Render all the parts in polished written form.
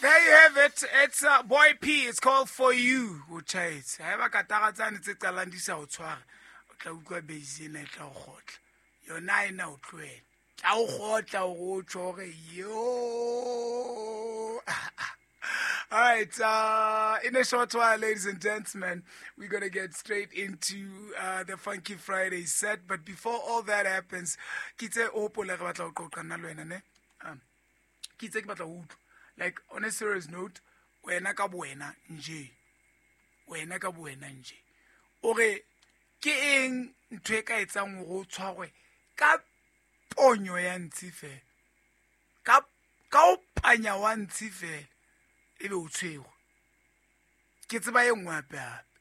There you have it. It's Boy P. It's called For You. O tjhaetse. Haeba katara tsane tse qalang di sa o tshware, o tla utlwa base ena e tla o kgotla. Yona ha e na o tlohela. Tla o kgotla hore o tjho hore yo. All right, in a short while, ladies and gentlemen, we're going to get straight into the Funky Friday set. But before all that happens, ke itse o hopole re batla ho qoqa nna le wena, ne? Ke itse ke batla ho utlwa. Like, on a serious note, wena ka bowena nje. Wena ka bowena nje. O re, ke eng ntho e ka etsang hore o tshwarwe ka ponyo ya ntshi fela? Ka o panya wa ntshi fela, ebe o tshwerwe. Ke tseba e nngwe hape hape.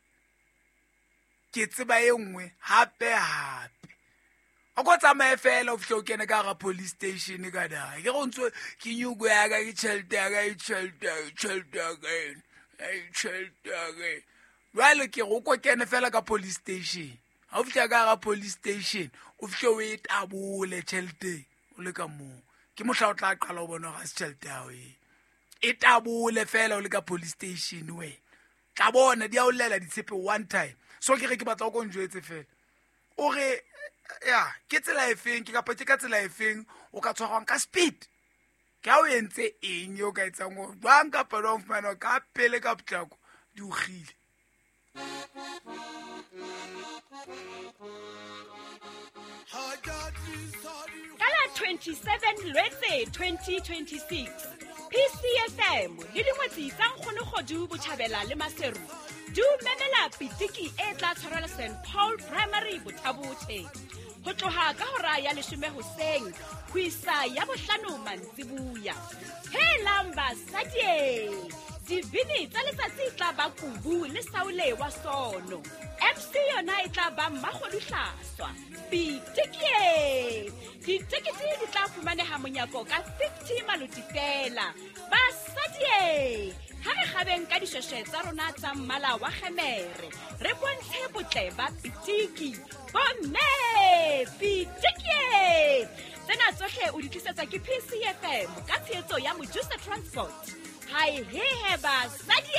Ke tseba e nngwe hape hape. O ko tsamaye fela o fihle o kene ka hara police station ka da. Ke go ntso ke nyuko ya ka, ke tjhelete ya ka, ke tjhelete ya ka, ke tjhelete ya ka ena, ke tjhelete ya ka ena. Jwale ke re o ko kene fela ka police station. Ha o fihla ka hara police station, o fihle o e tabole tjhelete o le ka moo. Ke mohla o tla qala ho bona hore ha se tjhelete ya hao e. E tabole fela o le ka police station wena. Tla bona di a o llela ditshepe one time. So ke re ke batla o ko njwetse fela. O re, ya, ke tsela e feng, ke kapa ke ka tsela e feng o ka tshwarwang ka speed? Ke ha o entse eng eo ka etsang hore jwang kapa jwang o fumana hore ka pele ka potlako di o kgile? Ka la 27 Lwetse 2026, PCFM le dingwetsi tsa Nkgono Kgodu Botjhabela le Maseru di o memela pitiki e tla tshwarelwa St Paul Primary Bothabothe ho tloha ka hora ya leshome hoseng ho isa ya bohlano mantsibuya. Helang basadi! Dibini tsa letsatsi e tla ba Kubu le Saule wa Sono. MC yona e tla ba Mmakgodu Hlaswa. Pitikie! Ditekete di tla fumaneha monyako ka 50 maloti fela. Basadi! Ha re kgabeng ka dishweshwe tsa rona tsa mmala wa kgemere, re bontshe botle ba pitiki. Bomme! Pitikie! Tsena tsohle o di tlisetswa ke PCFM ka tshehetso ya Mojusa Transport. Hai hehe basadi!